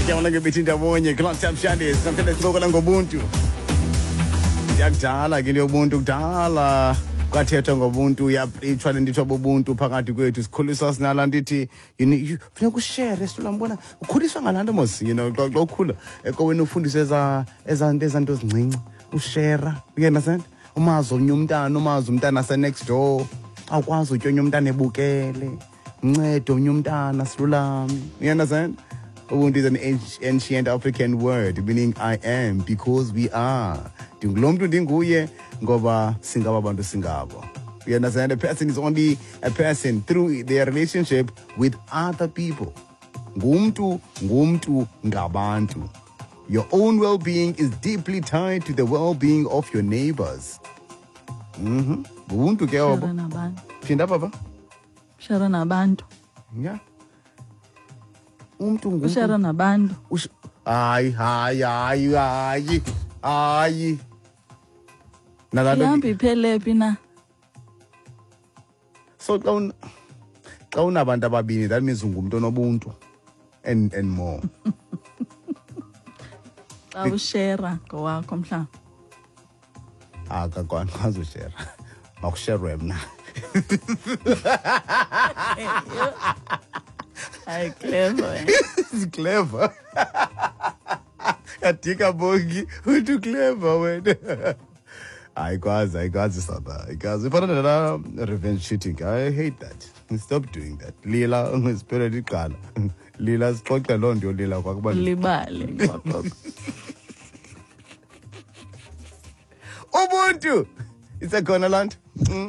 Yabona ke bethi ndawonye Clock Top Shandies namhlanje sincokola ngobuntu. Yakudala ke into yobuntu kudala kwathethwa ngobuntu yaprithwa le nto bobuntu phakathi kwethu sikhuliswa sinala nto ithi funeka ushere silambona ukhuliswa ngalaa nto mos xa ukhula ekowenu ufundiswe eza nto eza nto zincinci ushera, you understand? Umazi omnye umntana, umazi umntana ase-next door, awukwazi utya omnye umntana ebukele, uncede omnye umntana silulame, you understand? Ubuntu is an ancient African word meaning I am because we are. Ndingulo mntu ndinguye ngoba singaba bantu singabo. You understand? A person is only a person through their relationship with other people. Ngumntu, ngumntu, ngabantu. Your own well-being is deeply tied to the well-being of your neighbors. Ubuntu ke obo. Share nabantu. Phinda papa. Share nabantu. Yeah. Umntu ngumntu. Ushare nabantu. Hayi, hayi, hayi, hayi. Hayi. Nalaa nto Ihamba iphele phi na? So xa unabantu ababini, that means ungumntu onobuntu and more. Xa ushera ngowakho mhlawumbi. Akakwazi ushera. Makusherwe mna. Hayi, clever. It's clever. Yadika Bongi, uthi clever wena. Ayikwazi, ayikwazi sana, ayikwazi. Ifana nala revenge cheating. I hate that. Stop doing that. Lila ngespirit iqala. Lila sixoxe loo nto yolila kwakuba libale kwagogo. Ubuntu. Isekhona laa nto?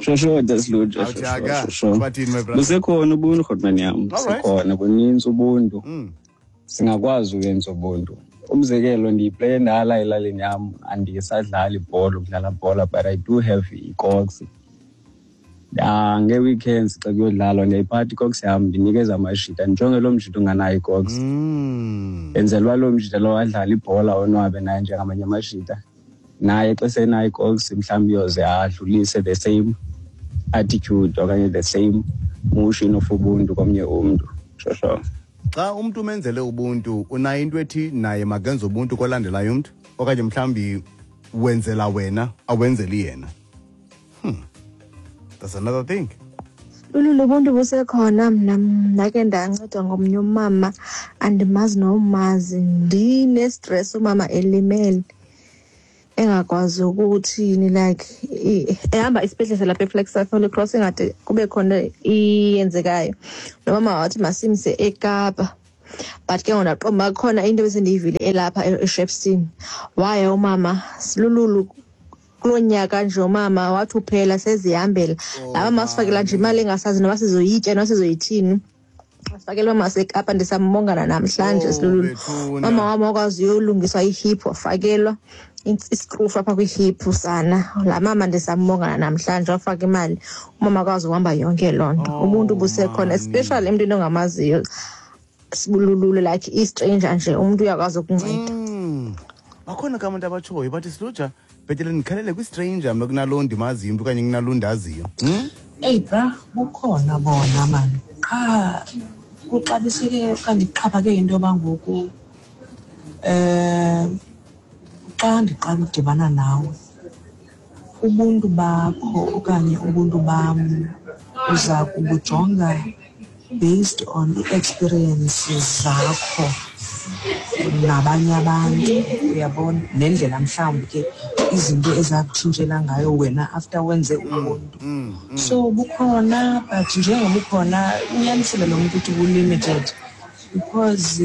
Sho Dasluja. Awutshaka. Sho. Bathini, my brother? Busekhona ubuntu Rhotman yam. All right. Busekhona buninzi ubuntu. Singakwazi uyenza ubuntu. Umzekelo ndiyipleye endala elalini yam, andisadlali ibhola ukudlala bhola, but I do have ikoks. Ngee-weekends xa kuyodlalwa ndiyayiphatha ikoks yam, ndinikeza amashita, ndijonge loo mshita unganayo ikoks. Enzela uba loo mshita lowo adlale ibhola onwabe naye njengamanye amashita. Naye xa senayo ikoks mhlawumbi uyoze adlulise the same attitude okanye the same motion of ubuntu komnye umntu. Sho sho. Xa umntu umenzele ubuntu, unayo into ethi naye makenze ubuntu kolandelayo umntu, okanye mhlawumbi wenzela wena awenzeli yena. That's another thing. Lulu, ubuntu busekhona. Mna ndake ndancedwa ngomnye umama andimazi nomazi, ndine-stress, umama elimele engakwazi ukuthini, like ehamba isibhedlele lapha eFlagstaff Holy Cross, ingade kube khona iyenzekayo. Lo mama wathi masimse eKapa, but ke ngoku ndaqonda uba khona into ebesendiyivile elapha eShepstone. Waya umama silululu kuloo nyaka nje, umama wathi uphela sezihambela. Laa mama wasifakela nje imali engasazi noba sizoyitya noba sizoyithini. Wasifakela umama waseKapa, ndisambongana namhlanje. Oh, Silululu. bethuna. Mama wam wakwazi uyolungiswa ihip, wafakelwa iskrufu apha kwihip sana. Laa mama ndisambongana namhlanje, wafaka imali umama akwazi uhamba yonke loo nto. Oh, Ubuntu busekhona, mani. especially emntwini ongamaziyo sibululule, like i-stranger nje, umntu uyakwazi ukunceda. Bakhona ke abantu abatshoyo bathi siluja bhetele ndikhalele kwi-stranger mna kunaloo ndimaziyo umntu okanye kunaloo ndaziyo. Eyi bra, bukhona bona mani, qha kuxabiseke okanye kuxhaphake into yoba ngoku xa ndiqala udibana nawe, ubuntu bakho okanye ubuntu bam uza kubujonga based on ii-experiences zakho nabanye abantu, uyabona, nendlela mhlawumbi ke izinto ezakutshintshela ngayo wena after wenze ubuntu. So bukhona, but njengoba bukhona unyanisile lo mntu uthi bu-limited, because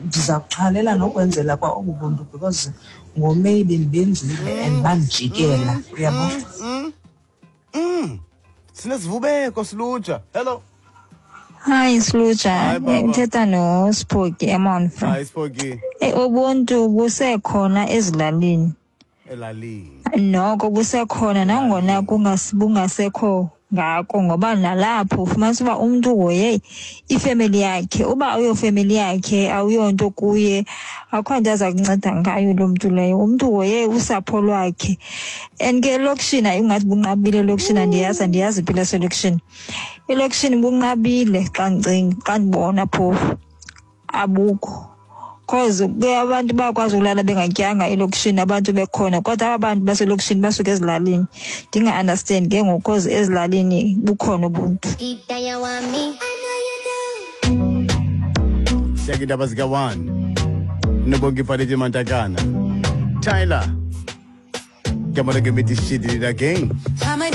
ndiza kuxhalela nokwenzela kwa obu buntu because ngoMay bendibenzile and bandijikela, uyabo. Sinesivubeko siluja. Hello. Hi Siluja, Hi, baba. ngithetha noSphoki eMonfro. Hi Sphoki. Ubuntu busekhona ezilalini. Elalini. Noko busekhona nangona bungasekho ngako, ngoba nalapho ufumanisa uba umntu uhoye ifemeli yakhe, uba awuyofemeli yakhe awuyonto kuye, akho nto aza kunceda ngayo loo mntu leyo. Umntu uhoye usapho lwakhe. And ke elokishini ayingathi bunqabile elokishini, andiyazi impilo yaselokishini. Elokishini bunqabile xa ndicinga, xa ndibona phofu abukho. Cause ke abantu bayakwazi ukulala bengatyanga elokishini, abantu bekhona, kodwa aba bantu baselokishini basuka ezilalini. Ndinga-understand ke ngoku, cause ezilalini bukhona ubuntu. Siyake indaba zika-1 nobonke ipaleti mantakana Tyler. Come on, give me this shit again. I'm a